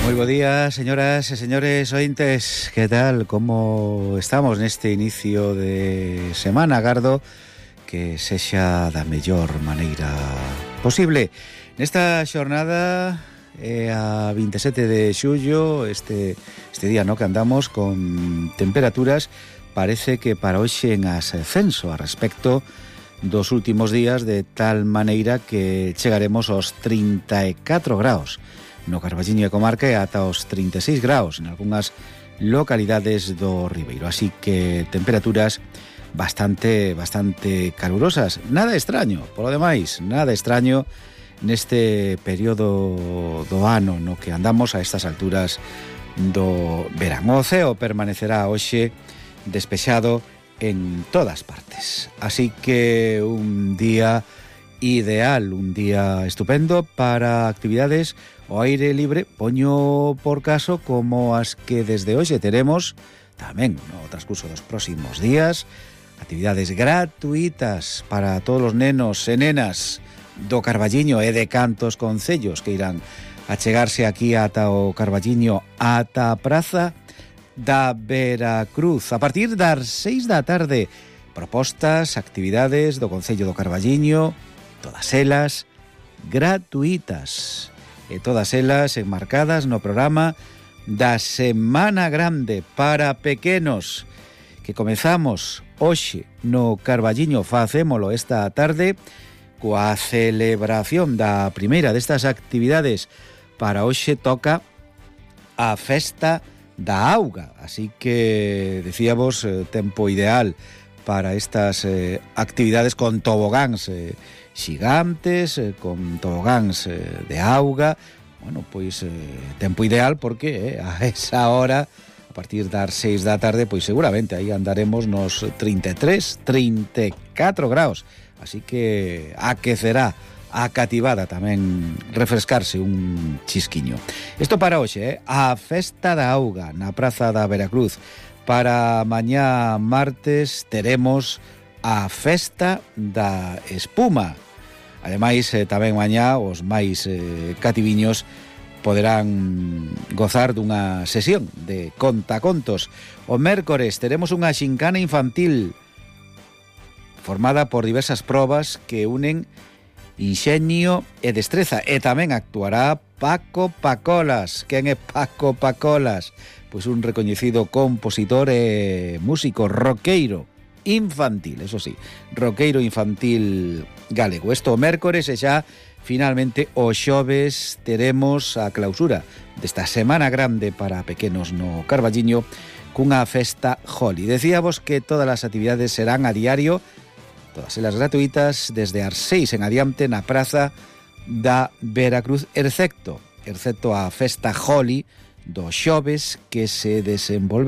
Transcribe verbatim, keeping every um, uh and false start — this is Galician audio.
Moi bo día, señoras e señores ointes. Que tal? Como estamos neste inicio de semana? Agardo que sexa da mellor maneira posible. Nesta xornada é a vinte e sete de xullo, este, este día no que andamos con temperaturas, parece que para hoxe en ascenso a respecto dos últimos días, de tal maneira que chegaremos aos trinta e catro graus no Carballiño e comarca e ata os trinta e seis graus en algunhas localidades do Ribeiro. Así que temperaturas bastante bastante calurosas. Nada extraño, polo demais, nada extraño neste período do ano no que andamos a estas alturas do verán. O ceo permanecerá hoxe despexado en todas partes. Así que un día ideal, un día estupendo para actividades ao aire libre, poño por caso como as que desde hoxe teremos tamén no transcurso dos próximos días, actividades gratuitas para todos os nenos e nenas do Carballiño e de cantos concellos que irán a chegarse aquí ata o Carballiño, ata a praza da Veracruz a partir das seis da tarde. Propostas, actividades do Concello do Carballiño, todas elas gratuitas e todas elas enmarcadas no programa da Semana Grande para pequenos que comezamos hoxe no Carballiño. Facémolo esta tarde coa celebración da primeira destas actividades. Para hoxe toca a festa da auga, así que decíamos eh, tempo ideal para estas eh, actividades con tobogáns eh, xigantes, eh, con tobogáns eh, de auga. Bueno, pois eh, tempo ideal porque eh, a esa hora, a partir das seis da tarde, pois seguramente aí andaremos nos trinta e tres, trinta e catro graus, así que aquecerá a cativada tamén refrescarse un chisquiño. Isto para hoxe, eh? A festa da auga na praza da Veracruz. Para mañá martes teremos a festa da espuma. Ademais, eh, tamén mañá os máis eh, cativiños poderán gozar dunha sesión de contacontos. O mércores teremos unha xincana infantil formada por diversas probas que unen inxenio e destreza, e tamén actuará Paco Pacolas. Quen é Paco Pacolas? Pois un recoñecido compositor e músico roqueiro infantil, eso sí, roqueiro infantil galego. Esto o mércores e xa finalmente o xoves teremos a clausura desta Semana Grande para pequenos no Carballiño cunha festa Joli. Decíamos que todas as actividades serán a diario, todas elas gratuitas, desde as seis en adiante na praza da Veracruz, excepto, excepto a festa Joli do xoves, que se desenvolve